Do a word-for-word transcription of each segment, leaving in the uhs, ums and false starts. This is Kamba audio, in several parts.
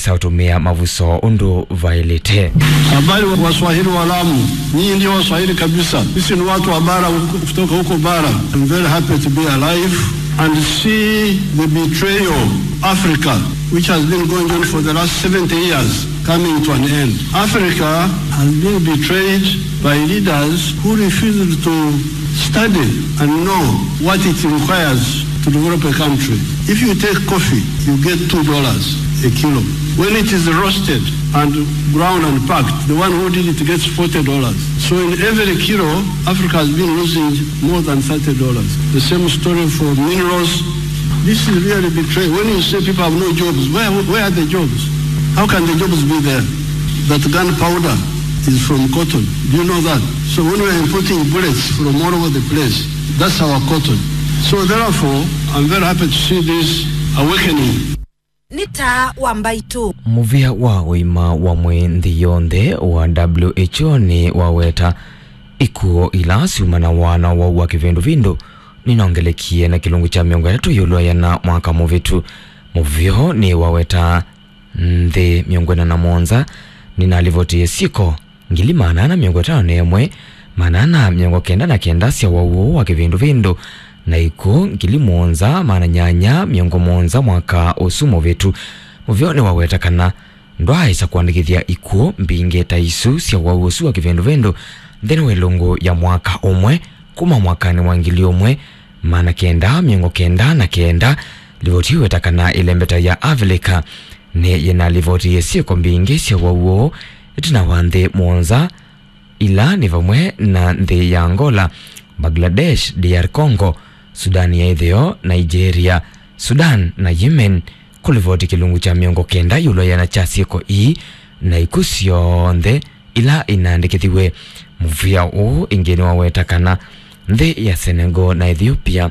ta ũtũmĩa mavuso ũndũ vaĩlĩte. Habari wa Waswahili wa Lamu, nyinyi ndio Waswahili kabisa. Sisi ni watu wa bara huko, kutoka huko bara. I'm very happy to be alive and see the betrayal of Africa, which has been going on for the last seventy years, coming to an end. Africa has been betrayed by leaders who refused to study and know what it requires to develop a country. If you take coffee, you get two dollars a kilo. When it is roasted and ground and packed, the one who did it gets forty dollars. So in every kilo, Africa has been losing more than thirty dollars. The same story for minerals. This is really betrayal. When you say people have no jobs, where, where are the jobs? How can the jobs be there? That gunpowder is from cotton. Do you know that? So when we are importing bullets from all over the place, that's our cotton. So therefore, I'm very happy to see this awakening. Nĩ taa wa mbaitũ. Mũvĩa wa ũima wa mwĩĩ nthĩ yonthe wa W H O nĩ waweta ikuũ ila syumanawa na wau wa kĩvĩndũvĩndũ nĩnongelekie na kĩlungu kya mĩongo ĩtatũ ĩũlũ wa ĩana mwaka mũvĩtu. Mũvĩa ũũ nĩ waweta nthĩ mĩongo ĩna na mũonza nĩnalivotie syĩko ngili maana ana mĩongo ĩtano na ĩmwe, maana ana mĩongo kenda na kenda sya wau ũũ wa kĩvĩndũvĩndũ, na ikuũ ngili mũonza maana nyanya mĩongo mũonza mwaka ũsu mũvĩtu. Mũvĩa ũũ nĩwaweta kana ndwaaĩsa kũandĩkĩthya ikuũ mbingĩ ta isu sya wau ũsu wa kĩvĩndũvĩndũ nthĩnĩ wa ĩlungu ya mwaka ũmwe kuma mwakanĩ wa ngili ũmwe maana kenda mĩongo kenda na kenda. Livoti ĩweta kana ĩlembeta ya Avilika nĩ yĩnalivotie syĩko mbingĩ sya wau ũũ ĩtina wa nthĩ mũonza, ila nĩ vamwe na nthĩ ya Angola, Bangladesh, D R Congo, Sudan ya Ĩtheo, Nigeria, Sudan, na Yemen, kũlivoti kĩlungu kya mĩongo kenda ĩũlũ wa ĩana kya syĩko ii na ikuũ syonthe ila inaandĩkĩthiw'e. Mũvĩa ũũ ĩngĩ nĩwaweta kana nthĩ ya Senegal na Ethiopia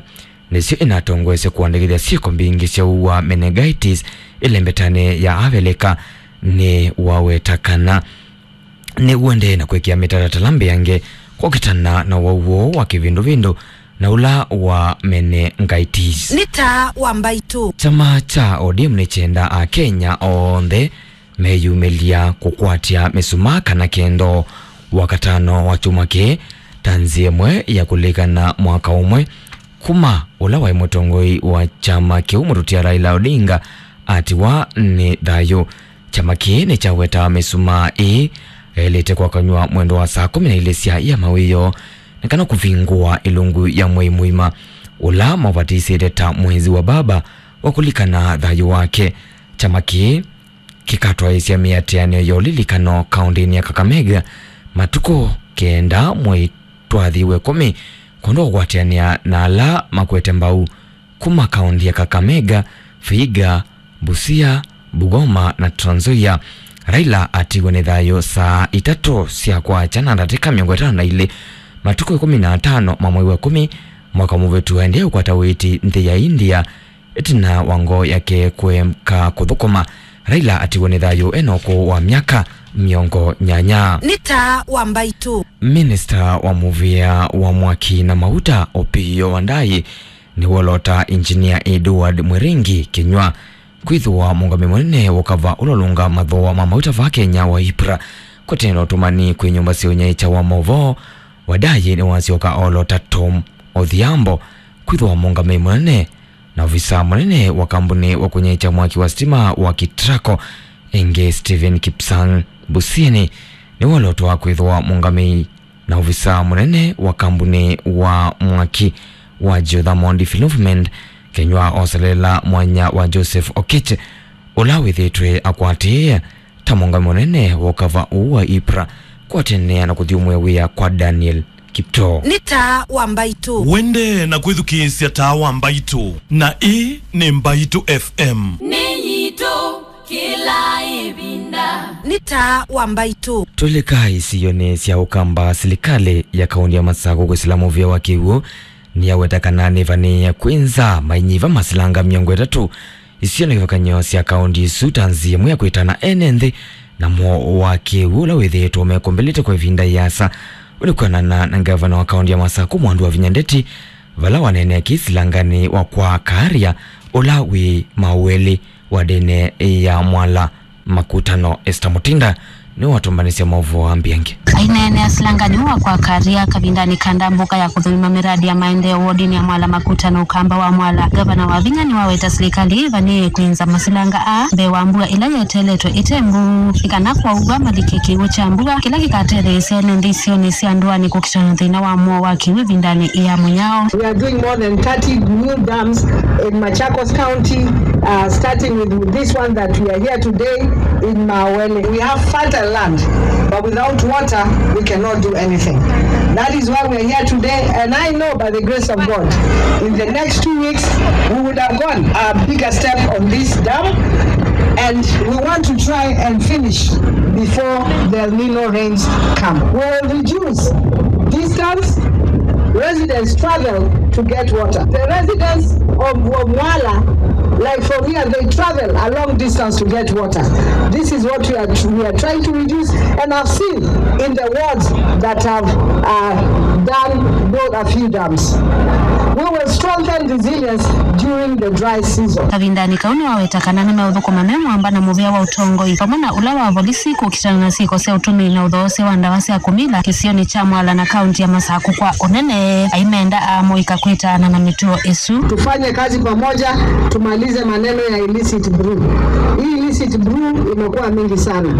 nĩsyo inatongoesye kũandĩkĩthya syĩko mbingĩ sya ũu wa meningitis ĩlembetanĩ ya Avilika. Nĩwaweta kana nĩw'o ndee na kwĩkĩa mĩtalatala mbeange kũkitana na wau ũũ wa kĩvĩndũvĩndũ na ũla wa meningitis. Nĩ taa wa mbaitũ. Kyama kya O D M nĩkyendaa Akenya onthe meyumĩlya kũkwatya mĩsumaa kana kendo wakatano wa kyumwa kĩĩ ta nzĩa ĩmwe ya kũlilikana mwaka ũmwe kuma ũla waĩ mũtongoi wa kyama kĩu mũtũtia Raila Odinga atiwa nĩ thayũ. Kyama kĩĩ nĩkyawetaa mĩsumaa ĩĩ yaĩlĩte kwakanywa mwendo wa saa kũmi na ilĩ sya ia mawĩoo nĩ kana kũvingũa ĩlungu ya mwei mũima ũla maũvatĩsĩte ta mwezi wa baba wa kũlikana thayũ wake. Kyama kĩĩ kĩkatwaĩĩsya mĩatĩanĩo ya ũlilikano kaũndĩnĩ ya Kakamega matukũ kenda mwei twathi wa ĩkũmi kwondũ wa kũatĩanĩa na ala makwete mbau kuma kaũndĩ ya Kakamega, Vihiga, Busia, Bungoma na Trans Nzoia. Raila atiwe nĩ thayũ saa itatũ sya kwakya na ndatĩka mĩongo ĩtano na ilĩ matukũ ĩkũmi na atano ma mwei wa ĩkũmi mwaka mũvĩtu aendee ũkwata ũiiti nthĩ ya India. Ĩtina wa ngoo yake kũeka kũthũkũma, Raila atiwe nĩ thayũ ena ũkũũ wa myaka mĩongo nyanya. Nĩ taa wa mbaitũ. Minista wa mũvĩa wa mwaki na mauta Opiyo Wandayi nĩwolota Engineer Edward Mwiringi kĩnywa kwĩthĩwa mũũngamĩi mũnene wa ũkava ũla ũlũngaa mathooa ma mauta vaa Kenya wa IPRA kũtene na ũtũmani kwĩ nyũmba sya ũnyaĩĩkya wa maũvoo. Wandayi nĩwasyoka olota Tom Odhiambo kwĩthĩwa mũũngamĩi mũnene na ovisaa mũnene wa kambunĩ wa kũnyaĩĩkya mwaki wa sitima wa KETRACO, ĩngĩ Stephen Kipsang Busiani nĩwolotwa kwĩthĩwa mũũngamĩi na ovisaa mũnene wa kambunĩ wa mwaki wa Geothermal Development, kĩnywa oselela mwanya wa Joseph Oketch, ũla wĩthĩĩtwe akwatĩĩe ta mũũngamĩi mũnene wa ũkava ũũ wa IPRA kũatĩanĩa na kũthyũmũĩa wĩa kwa Daniel Kiptoo. Nĩ taa wa mbaitũ. Wende na kwĩthukĩĩsya taa wa mbaitũ, na ĩĩ nĩ Mbaitũ F M. Nĩ yitũ kĩla ĩvinda. Nĩ taa wa mbaitũ. Tũlika isionĩ sya ũkamba, silikalĩ ya kaũndĩ ya Masakũ kwĩsĩla mũvĩa wa kĩw'ũ nĩyaweta kana nĩvanĩĩe kwĩ nza mainyiva masilanga mĩongo ĩtatũ isio na kĩvathũkany'o sya kaũndĩ isu ta nzĩa ĩmwe ya kwĩtana ene nthĩ na mowau wa kĩw'ũ ũla wĩthĩĩtwe ũmekũmbĩlĩte kwa ĩvinda ĩasa. Ũu nĩ kwĩanana na ngavana wa kaũndĩ ya Masakũ Mwandu wa Vinya Ndeti, vala waneenea kĩĩ silanganĩ wa kwa Kaaria ũla wĩ Maweli wa ndene ya Mwala Makutano, Esther Mutinda nĩwe watũmbanĩsya maũvoo wa Mbiangi. Aineenea silangani wa kwa Karia kavindanĩ ka ndambũka ya kũthũima mĩradi ya maendeeo wodinĩ ya Mwala Makutano Ũkamba wa Mwala, ngavana Wavinya nĩwaweta silikalĩ ĩvanĩĩe kwĩnza masilanga aa mbee wa mbua ĩla yeteeletwe ĩte mbuu, nĩ kana kwaũvwa malike kĩw'ũ kya mbua kĩla kĩkatetheesya ene nthĩ isionĩ sya ndũanĩ kũkitana na thĩna wa mũo wa kĩw'ũ ĩvindanĩ ya mũnyao. We are doing more than thirty new dams in Machakos County, uh, starting with this one that we are here today in Mawele. We have fertile land, but without water, we cannot do anything. That is why we are here today, and I know by the grace of God, in the next two weeks, we would have gone a bigger step on this dam, and we want to try and finish before the El Nino rains come. We will reduce distance residents travel to get water. The residents of, of Mwala, like from here, they travel a long distance to get water. This is what we are, we are trying to reduce, and I've seen in the wards that have, uh, done, built a few dams. We will strengthen resilience during the dry season. Kavindanĩ kau nĩwaweta kana nĩmeũthũkũma me mwamba na mũvĩa wa ũtongoi vamwe na ũla wa volisi kũkitana na syĩko sya ũtũmĩi na ũthoosya wa ndawa sya kũmila kĩsionĩ kya Mwala na kaunti ya Masakũ kwa ũnene, aimenda amũika kwĩtaana na mĩtuo ĩsu. Tufanye kazi pamoja, tumalize maneno ya illicit brew. Hii illicit brew imekuwa mingi sana,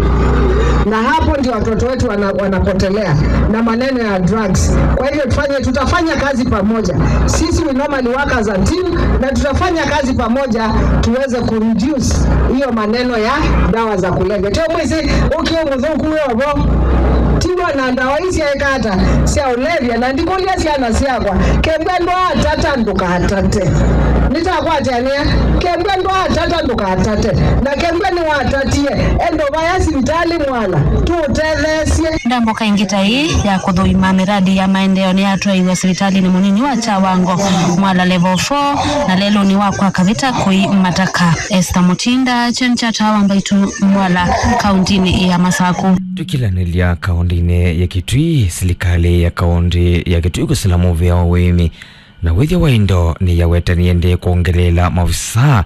na hapo ndio watoto wetu wana, wanapotelea na maneno ya drugs. Kwa hivyo tufanye, tutafanya kazi pamoja. Sisi we normally work as a team, na tutafanya kazi pamoja tuweze kureduce hiyo maneno ya dawa za kulevya. Tio mwisi ũkĩ mũthũku wĩ ovo, tiwa na ndawa ii syaĩka ata sya ũlevya, na ndikũlya syana syakwa, kembwa ndwaatata ndũkatate. Nĩtakwatanĩa, kembwa ndwaatata ndũkatate, na kembwa nĩwatatie, enda vaya sivitalĩ Mwala tũũtetheesye. Ndambũka ĩngĩ ta ĩĩ ya kũthũima mĩradi ya maendeeo nĩyatwaĩiwe sivitalĩnĩ mũnini wa Kyawango, Mwala Level four, na lelũnĩ wa kwa Kavita kũi Mataka. Esther Mutinda, Kyeni kya Taa wa Mbaitũ, Mwala, kauntinĩ ya Masakũ. Tũkilanĩlya kauntinĩ ya Kitui, silikalĩ ya kaunti ya Kitui kũsila mũvĩa wa ũĩmi na wĩthya wa indo nĩyawetanie ĩndĩ kwongeleela maovisaa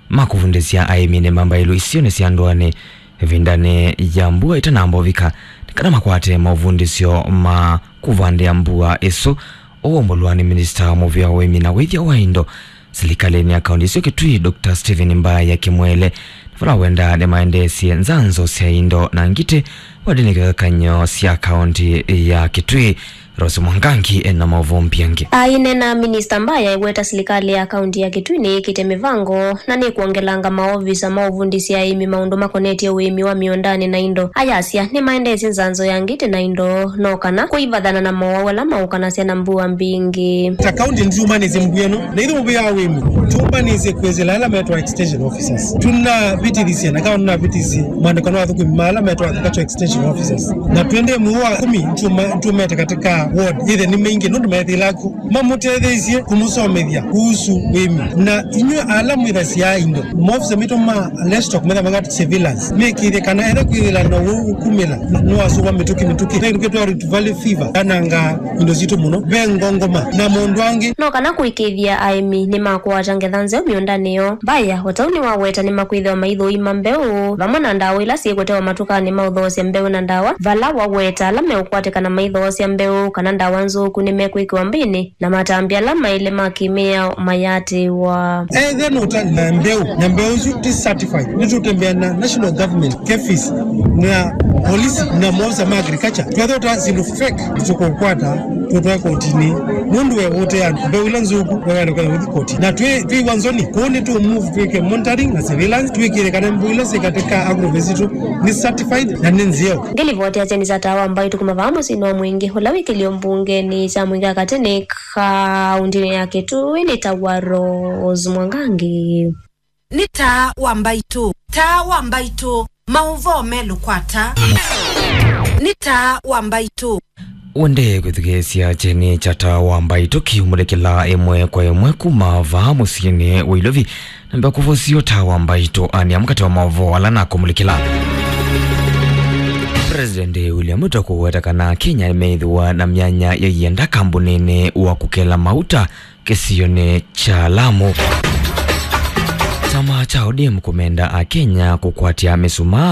ma kũvundĩsya aĩmi nĩ mambaĩlu isionĩ sya ndũanĩ ĩvindanĩ ya mbua ĩtanamba ũvika, nĩ kana makwate maũvundĩsyo ma kũvandĩa mbua ĩsu. Ũũ ũmbũlwa nĩ minista wa mũvĩa wa ũĩmi na wĩthya wa indo silikalĩnĩ ya kaunti ĩsu Kitui, Doctor Stephen Mbaya Kimwele, na vala wenda nĩmaendeesye nzanzo sya indo na ngitĩ wadini kĩvathũkany'o sya kaunti ya Kitui. Rose Mwangangi ena maũvoo Mbiangi. Aineena, Minista Mbaya eweta silikalĩ ya kaunti ya Kitui nĩyĩkĩte mĩvango na nĩkwongelanga maovisa ma ũvundĩsya aĩmi maũndũ makonetye ũĩmi wa mĩũndanĩ na indo. Ayasya nĩmaendeesye nzanzo ya ngitĩ na indo, no kana kũivathana na mowau ala maũkanasya na mbua mbingĩ. Ta kaunti nĩtũmanĩsye mbua ĩno, na ithyĩ mũvĩa wa ũĩmi tũmanĩsye kwĩsĩla ala metwa extension officers. Tũnavĩtĩthisye na kaunti navĩtĩthisye mwandĩko na athũkũmi ma ala metwa agriculture extension officers. Na twende mwei wa kũmi, nĩtũma-, nĩtũmete katika ward. Ĩthe nĩ maingĩ, nũndũ methĩla ku mamũtetheesye kũmũsomethya kuhusu ũĩmi. Na inyw'ĩ ala mwĩthasya indo, maofisa maitũ ma livestock metha magatũ surveillance, mekĩthye kana etha kwĩthĩla na ũwau ũkumĩla, nĩwasũva mĩtũkĩ mĩtũkĩ. Twĩ twĩtwa Rift Valley fever, yananga indo sitũ mũno, ve ngongoma na maũndũ angĩ. No kana kũĩkĩĩthya aĩmi nĩmakũata ngetha nzeo mĩũndanĩ yoo. Mbaya o ta ũu nĩwaweta nĩmakwĩthĩwa maithũima mbeũ vamwe na ndawa ila syĩkũtewa matukanĩ ma ũthoosya mbeũ na ndawa, vala waweta ala meũkwatĩkana maithoosya mbeũ kana ndawa nzũku nĩmekwĩkĩwa mbĩnĩ, na matambya ala maĩle ma kĩmĩao mayatĩĩwa. Ethe nũta na mbeũ, na mbeũ isu ti certified, nĩtũtembea na national government, KEPHIS, na polisi na maofisa ma agriculture. Twethota syĩndũ fake, tũkũkwata, tũtwae kotinĩ. Nũndũ we ũtea mbeũ ila nzũku, we wenda kwenda kũthi koti. Na twĩ, twĩ wanzoni, kũu nĩ tũ move twĩke monitoring na surveillance, twĩkĩre kana mbeũ ila syĩ katika agrovet sitũ nĩ certified na nĩ nzeo. Ngĩlivoti ya Kyeni kya Taa wa Mbaitũ kuma vaa mũsyĩnĩ wa Mwingĩ, ũla wĩ kĩlio mbungenĩ kya Mwingĩ wa Katĩ nĩ kauntinĩ ya Kitui, nĩ ta wa Rose Mwangangi. Nĩ Taa wa Mbaitũ. Taa wa Mbaitũ. Maũvoo melũ kwa Taa. Nĩ Taa wa Mbaitũ. Wende kwĩthukĩĩsya Kyeni kya Taa wa Mbaitũ kĩumũlĩkĩla ĩmwe kwa ĩmwe kuma vaa mũsyĩnĩ wa Ilovi. Namba kũvosio Taa wa Mbaitũ anĩa mũkate wa maũvoo ala nakũmũlĩkĩla. President William Ruto kũweta kana Kenya nĩmeĩthĩwa na myanya ya ienda kambunĩnĩ wa kũkela mauta kĩsionĩ kya Lamu. Kyama kya O D M kũmenda Akenya kũkwatya mĩsumaa